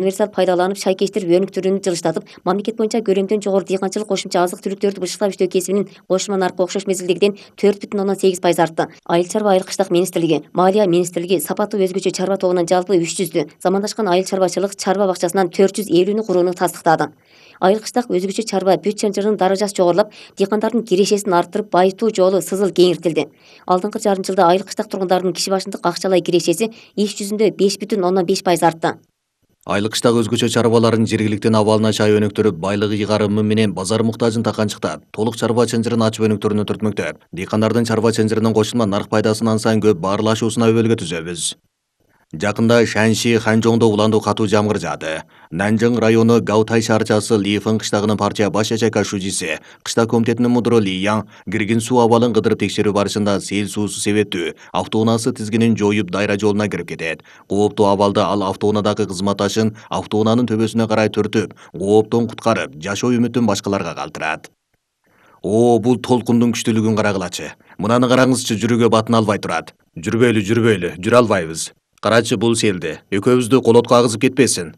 универсал пайдаланып шайкештирип өнүктүрүүнү жылыштатып, мамлекет боюнча көлөмдөн жогору дыйканчылык кошумча азык түлүктөрдү бышыктап иштөө кесибинин кошулма наркы окшош мезгилдегиден 4,8% артты. Айыл чарба айыл кыштак министрлиги, Малия министрлиги сапаттуу өзгөчө чарба тобунан жалпы 300 замандашкан айыл чарбачылык чарба бакчасынан 450 курууну тастыктады. Айыл кыштак өзгөчө чарба бүт чынжырынын даражасы жогорулап, дыйкандардын кирешесин арттырып, байытуу жолу сызыл кеңиртилди. Алдыңкы жарым жылда айыл кыштак тургундарынын киши башындык акчалай кирешеси иш жүзүндө 5,5% артты. Айыл кыштак өзгөчө чарбаларын жергиликтин абалына чай өнүктүрүп, байлыгы ыйгарымы менен базар муктажын таканчыктап, толук чарба чынжырын ачып өнүктүрүүнү түртмөктөп, дыйкандардын чарба чынжырынын кошулма нарк пайдасын ансан көп баарлашуусуна өбөлгө түзөбүз. Жакында Шанши, Ханчжоңдо уландуу катуу жамгыр жаады. Нанжың району Гаутай шаарчасы Лифэн кыштагынын партия баш ячейка шужиси, кыштак комитетинин мудуру Ли Яң киргин суу абалын кыдырып текшерүү барышында сел суусу себептүү автоунаасы тизгинин жоюп дайра жолуна кирип кетет. Кооптуу абалда ал автоунадагы кызматташын автоунаанын төбөсүнө карай түртүп, кооптон куткарып, жашоо үмүтүн башкаларга калтырат. Бул толкундун күчтүүлүгүн карагылачы. Мынаны караңызчы, жүрүүгө батына албай турат. Жүрбөйлү, жүрө албайбыз. Карачы бул селди. Экөөбүздү колотко агызып кетпесин.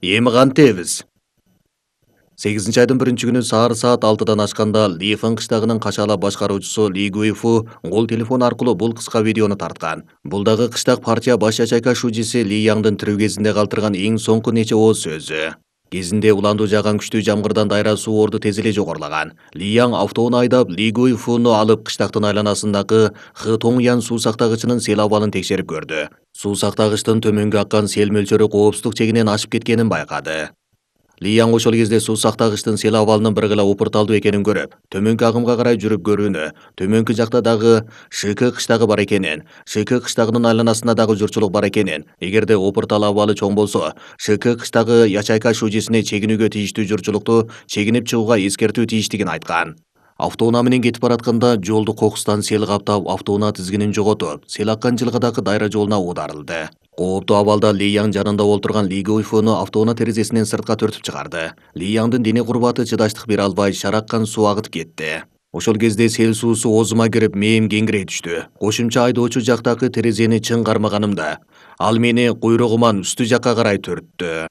Эми кантебиз? 8-айдын 1-күнү саат 6-дан ашканда Лифэн кыштагынын качаалап башкаруучусу Ли Гуйфу кол телефон аркылуу бул кыска видеону тарткан. Бул дагы кыштак партия баш ячейка шужиси Ли Яңдын тирүү кезинде калтырган эң соңку нече ооз сөзү. Кезинде уландуу жааган күчтүү жамгырдан дайра суу орду тез эле жогорулаган. Ли Яң автоуна айдап Ли Гуйфуну алып кыштактын айланасындагы Хытоңян суу сактагычынын сел абалын текшерип көрдү. Суу сактагычтын төмөнгө аккан сел мөлчөрү коопсуздук чегинен ашып кеткенин байкады. Ли Яң ошол кезде суу сактагычтын сел абалынын бир гыла упурталдуу экенин көрүп, төмөнкү агымга карай жүрүп көрүүнү, төмөнкү жакта дагы ШК кыштагы бар экенин, ШК кыштагынын айланасында дагы журчулук бар экенин, эгерде упуртал абалы чоң болсо, ШК кыштагы ячейка шужисине чегинүүгө тийиштүү журчулукту чегинип чыгууга эскертүү тийиштигин айткан. Автоунаа менен кетип баратканда жолду кокустан сел каптап, автоунаа тизгинин жоготуп, сел аккан жылгадагы дайра жолуна оодарылды. Кооптуу абалда Ли Яң жанында олтурган Ли Гуйфуну автоунаа терезесинен сыртка түртүп чыгарды. Ли Яңдын дене курбаты чыдаштык бере албай, шараккан суу агытып кетти. Ошол кезде сел суусу оозума кирип, мээм кеңирей түштү. Кошумча айдоочу жактагы терезени чың кармаганымда, ал мени куйругуман үстү жакка карай түрттү.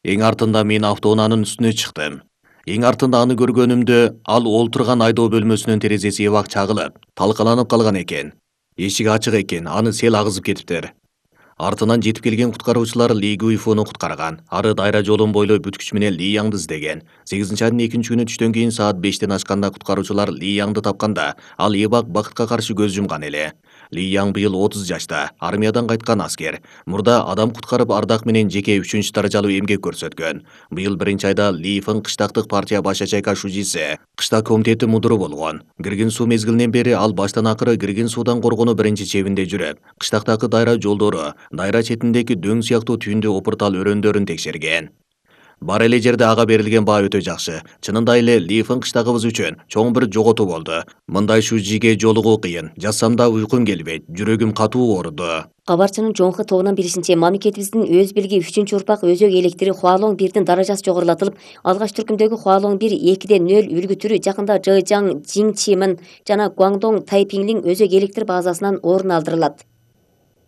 Эң артында мен автоунаанын үстүнө чыктым. Эң артында аны көргөнүмдө ал олтурган айдоо бөлмөсүнүн терезеси эбак чагылып, талкаланып калган экен. Эшик ачык экен, аны сел агызып кетиптир. Артынан жетип келген куткаруучулар Ли Гуйфуну куткарган. Ары дайра жолун бойлой бүт күч менен Ли Яңды издеген. 8-айдын 2-күнү түштөн кийин саат 5-тен ашканда куткаруучулар Ли Яңды тапканда, ал эбак бакытка каршы көз жумган эле. Ли Яң быйыл 30 жашта, армиядан кайткан аскер. Мурда адам куткарып ардак менен жеке 3 даражалуу эмгек көрсөткөн. Быйыл 1-айда Лифэн кыштактык партия баш ячейка шужиси, кыштак комитети мудуру болгон. Киргин суу мезгилинен бери ал баштан акыры киргин суудан коргонуу биринчи чебинде жүрүп, кыштактагы дайра жолдору, дайра четиндеги дөң сыяктуу түйүндүү опуртал өрөөндөрүн текшерген. Бар эле жерде ага берилген баа өтө жакшы. Чынында эле Лифэн кыштагыбыз үчүн чоң бир жоготуу болду. Мындай шужиге жолугуу кыйын. Жазсам да уйкум келбейт, жүрөгүм катуу ооруду. Кабарчынын Жоңхы тобунан билишинче, мамлекетибиздин өз билги 3-урпак өзөк электри Хуалоң 1дин даражасы жогорулатылып, алгач түркүмдөгү Хуалоң 1 2,0 үлгү түрү жакында Жэжаң, Жиңчимэн жана Гуаңдоң Тайпиңлиң өзөк электр базасынан орун алдырылат.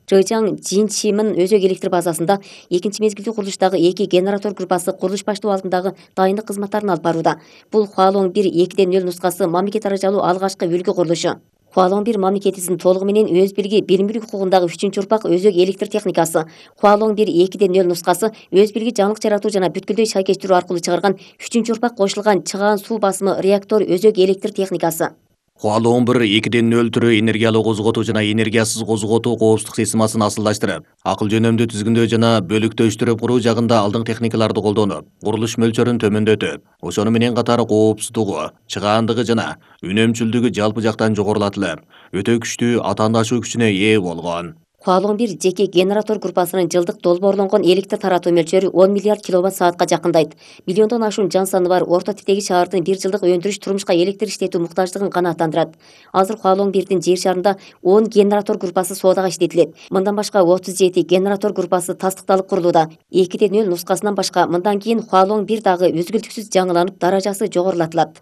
Жэжаң, Жиңчимэн өзөк электр базасында 2 мезгилдүү курулуштагы 2 генератор группасы курулуш баштоо алдындагы дайындык кызматтарын алып барууда. Бул Хуалоң 1 2,0 нускасы мамлекет даражалуу алгачкы үлгү курулушу. Хуалоң 1 мамлекетибиздин толугу менен өз билги билим мүлк укугундагы 3-урпак өзөк электр техникасы. Хуалоң 1 2,0 нускасы өз билги жаңылык жаратуу жана бүткүлдөй шайкештирүү аркылуу чыгарган 3-урпак кошулган чыгаан суу басымы реактор өзөк электр техникасы. Хуалоң 1 2,0 түрү энергиялуу козготуу жана энергиясыз козготуу коопсуздук системасын асылдаштырып, акыл жөнөмдүү түзгүндөө жана бөлүктөштүрүп куруу жагында алдыңкы техникаларды колдонуп, курулуш мөлчөрүн төмөндөтүп, ошону менен катары коопсуздугу, чыгаандыгы жана үнөмчүлдүгү жалпы жактан жогорулатылып, өтө күчтүү атаандашуу күчүнө ээ болгон. Хуалоң 1 жеке генератор группасынын жылдык долбоорлонгон электр таратуу мөлчөрү 10 миллиард киловатт-саатка жакындайт. Миллиондон ашуун жан саны бар орто типтеги шаардын 1 жылдык өндүрүш турмушка электр иштетүү муктаждыгын канааттандырат. Азыр Хуалоң 1дин жер шарында 10 генератор группасы соодага иштетилет. Мындан башка 37 генератор группасы тастыкталып курулууда. 2,0 нускасынан башка мындан кийин Хуалоң 1 дагы үзгүлтүксүз жаңыланып, даражасы жогорулатылат.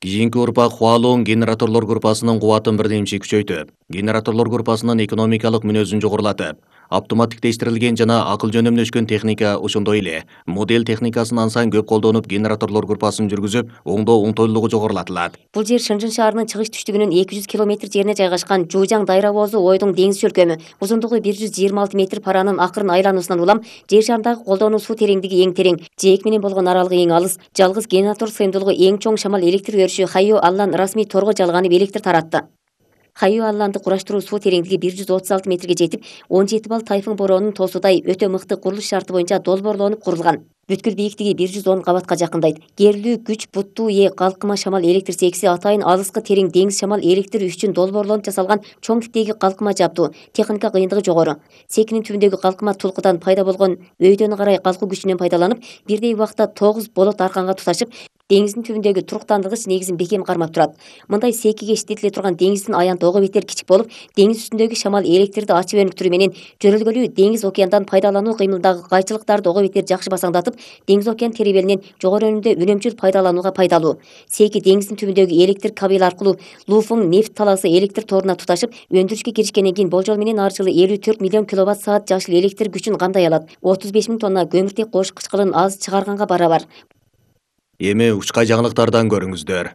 Кийинки урпак Хуалоң генераторлор группасынын кубатын бирдемчи күчөйтүп, генераторлор группасынын экономикалык мүнөзүн жогорулатып, Автоматтиктештирилген жана акыл жөнөмдөшкөн техника, ошондой эле модель техникасын ансан көп колдонуп, генераторлор группасын жүргүзүп, оңдоо оңтойлуулугу жогорулатылат. Бул жер Шынжын шаарынын чыгыш түштүгүнөн 200 км жерине жайгашкан Жужаң Дайра боозу ойдуң деңиз чөлкөмү. Узундугу 126 метр паранын акырын айлануусунан улам жер шарындагы колдонуу суу тереңдиги эң терең, жээк менен болгон аралыгы эң алыс. Жалгыз генератор сыйымдуулугу эң чоң шамал электр берүүчү Хайо Аллан расмий торго жалганып электр таратты. Хайо Алланды кураштыруу суу тереңдиги 136 метрге жетип, 17 балл тайфун боронунун тоосудай өтө мыкты курулуш шарты боюнча долбоорлонуп курулган. Бүткүл бийиктиги 110 кабатка жакындайт. Керилүү күч буттуу ээ калкыма шамал электр секси атайын алыскы терең деңиз шамал электр үчүн долбоорлонуп жасалган чоң типтеги калкыма жабдуу. Техника кыйындыгы жогору. Секинин түбүндөгү калкыма тулкудан пайда болгон өйдөн карай калкуу күчүнөн пайдаланып, бирдей убакта 9 болот арканга туташып, деңиздин түбүндөгү туруктандыргыч негизин бекем кармап турат. Мындай секиге иштетиле турган деңиздин аянты ого бетер кичик болуп, деңиз үстүндөгү шамал электрди ачып өнүктүрүү менен жөрөлгөлүү деңиз океандан пайдалануу кыймылдагы кайчылыктарды ого бетер жакшы басаңдатып, деңиз океан теребелинен жогору өнүмдө үнөмчүл пайдаланууга пайдалуу. Секи деңиздин түбүндөгү электр кабель аркылуу Луфың нефт талаасы электр торуна туташып, өндүрүшкө киришкенден кийин болжол менен ар жылы 54 миллион киловатт-саат жашыл электр күчүн кандай алат. 35 000 тонна көмүртек кош кычкылын аз чыгарганга барабар. Эми учка жаңылыктардан көрүңүздөр.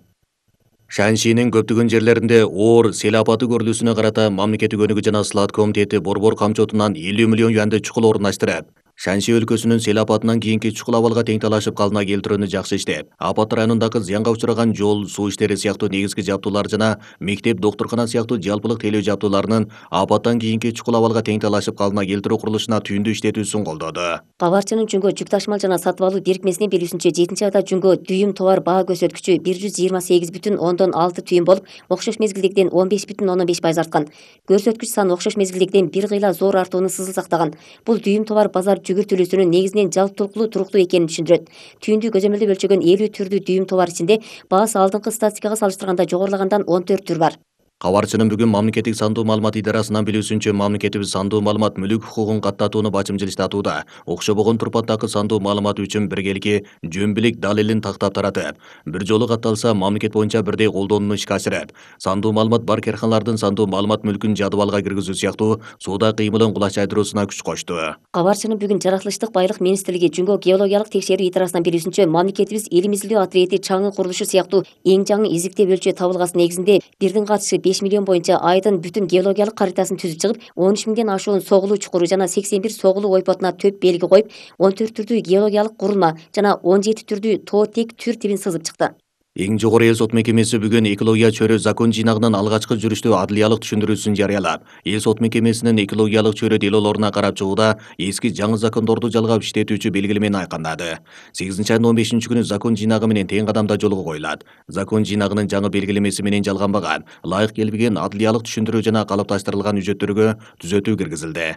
Шаншинин көптөгөн жерлеринде оор сел апаты көрүлүүсүнө карата мамлекеттик өнүгүү жана слаат комитети борбор камчотунан 50 миллион юанды чукул орундаштырып, Шанши өлкөсүнүн сел апатынан кийинки чукул абалга тең талашып калына келтирүүнү жакшы иштеп, апат районундагы зыянга учураган жол, суу иштери сыяктуу негизги жабдуулар жана мектеп, доктуркана сыяктуу жалпылык тейлөө жабдууларынын апаттан кийинки чукул абалга тең талашып калына келтирүү курулушуна түйүндү иштетүүсүн колдоду. Кабарчынын Жүнгө жүк ташымал жана сатып алуу бирикмесинин билүүсүнчө 7-айда Жүнгө дүйүм товар баа көрсөткүчү 128,6 түйүм болуп, окшош мезгилдегиден 15,5% арткан. Көрсөткүч саны окшош мезгилдегиден бир кыйла зор артууну сызыл сактаган. Бул дүйүм товар базар жүгүртүлүүсүнүн негизинен жалптулкулуу туруктуу экенин түшүндүрөт. Түйүндү көзөмөлдөп өлчөгөн 50 түрдүү дүйүм товар ичинде баасы алдыңкы статистикага салыштырганда жогорулагандан 14 түр бар. Кабарчынын бүгүн мамлекеттик сандуу маалымат идарасынан билүүсүнчө, мамлекетибиз сандуу маалымат мүлүк хукугун каттатууну бачымчылыштатууда. Окшобогон турпаттагы сандуу маалымат үчүн биргелики жөнбилик далилин тактап таратып, бир жолу катталса мамлекет боюнча бирдей колдонууну ишке ашырып, сандуу маалымат бар карканалардын сандуу маалымат мүлкүн жадыбалга киргизүү сыяктуу сууда кыймылын кулачайдыруусуна күч кошту. Кабарчынын бүгүн жаратылыштык байлык министрлиги Жүнгө геологиялык текшерүү идарасынан билүүсүнчө, мамлекетибиз элим изилдөө отряди чаңы курулушу сыяктуу эң жаңы изиктеп өлчөө табылгасы негизинде бирдин катышы 5 миллион боюнча айдын бүтүн геологиялык каритасын түзүп чыгып, 13 000ден ашуун согулуу чукуру жана 81 согулуу ойпотуна төп белги коюп, 14 түрдүү геологиялык курулма жана 17 түрдүү тоо тек түр тибин сызып чыкты. Эң жогору эл сот мекемеси бүгүн экология чөйрө закон жыйнагынын алгачкы жүрүштүү адылиялык түшүндүрүүсүн жарыялап, эл сот мекемесинин экологиялык чөйрө делолоруна карап чыгууда эски жаңы закондорду жалгап иштетүүчү белгилемени айкындады. 8-айдын 15 күнү закон жыйнагы менен тең кадамда жолго коюлат. Закон жыйнагынын жаңы белгилемеси менен жалганбаган, ылайык келбеген адылиялык түшүндүрүү жана калыпташтырылган үжөттөргө түзөтүү киргизилди.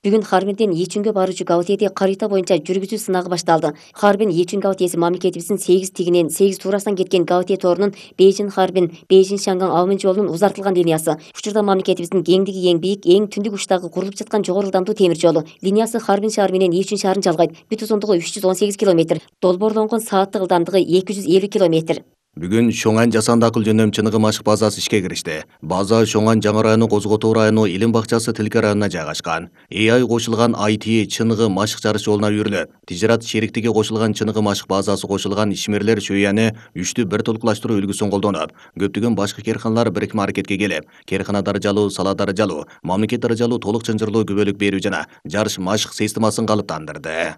Бүгүн Харбинден Ичүнгө баруучу Гаутиеде карыйта боюнча жүргүзүү сынагы башталды. Харбин Ичүн Гаутиеси мамлекетибиздин 8 тигинен 8 туурасынан кеткен Гаутие тоорунун Бейжин Харбин, Бейжин Шанган Аумин жолунун узартылган линиясы. Учурда мамлекетибиздин кеңдиги эң бийик, эң түндүк учтагы курулуп жаткан жогору ылдамдуу темир жолу. Линиясы Харбин шаар менен Ичүн шаарын жалгайт. Бүт узундугу 318 км, долбоорлонгон сааттык ылдамдыгы 250 км. Бүгүн Шоңан жасанды акыл жөнөм чыныгы машык базасы ишке киришти. База Шоңан жаңы району Козготоо району Илим бакчасы Тилке районуна жайгашкан. AI кошулган IT чыныгы машык жарыш жолуна үйрүлөт. Тижират шериктиги кошулган чыныгы машык базасы кошулган ишмерлер шөйяны 3-тү бир толуклаштыруу үлгүсүн колдонуп, көптөгөн башкы керканалар бирикме аракетке келип, керкана дарыжалуу, сала дарыжалуу, мамлекет дарыжалуу толук чынжырлуу күбөлүк берүү жана жарыш машык системасын калыптандырды.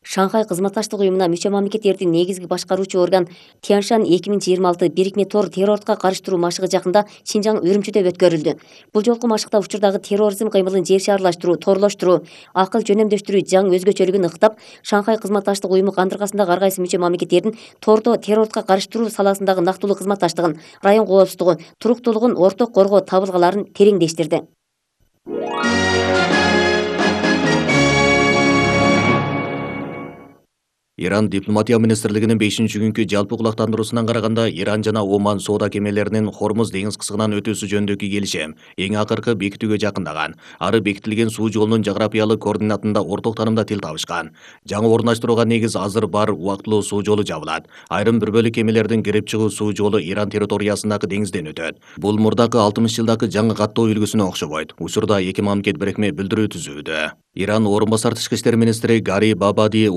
Шанхай кызматташтык уюмуна мүчө мамлекеттердин негизги башкаруучу орган Тяншан 2026 бирикме тор террордука карыштыруу машыгы жакында Шинжаң Үрүмчүдө өткөрүлдү. Бул жолку машыкта учурдагы терроризм кыймылын жер шаарлаштыруу, торлоштуруу, акыл жөнөмдөштүрүү жаңы өзгөчөлүгүн ыктап, Шанхай кызматташтык уюму кандыргасындагы ар кайсы мүчө мамлекеттердин тордо террордука карыштыруу саласындагы нактылуу кызматташтыгын, район коопсуздугун, туруктуулугун орток коргоо табылгаларын тереңдештирди. Иран дипломатия министрлигинин 5-күнкү жалпы кулактандыруусунан караганда, Иран жана Оман соода кемелеринин Хормуз деңиз кысыгынан өтүүсү жөнүндөгү келишим эң акыркы бекитүүгө жакындаган. Ары бекитилген суу жолунун жографиялык координатында орток таанымда тил табышкан. Жаңы орундаштырууга негиз азыр бар убактылуу суу жолу жабылат. Айрым бир бөлүк кемелердин кирип чыгуу суу жолу Иран территориясындагы деңизден өтөт. Бул мурдакы 60 жылдагы жаңы каттоо үлгүсүнө окшобойт. Учурда эки мамлекет бирикме билдирүү түзүүдө. Иран орун басар тышкы иштер министри Гари Бабади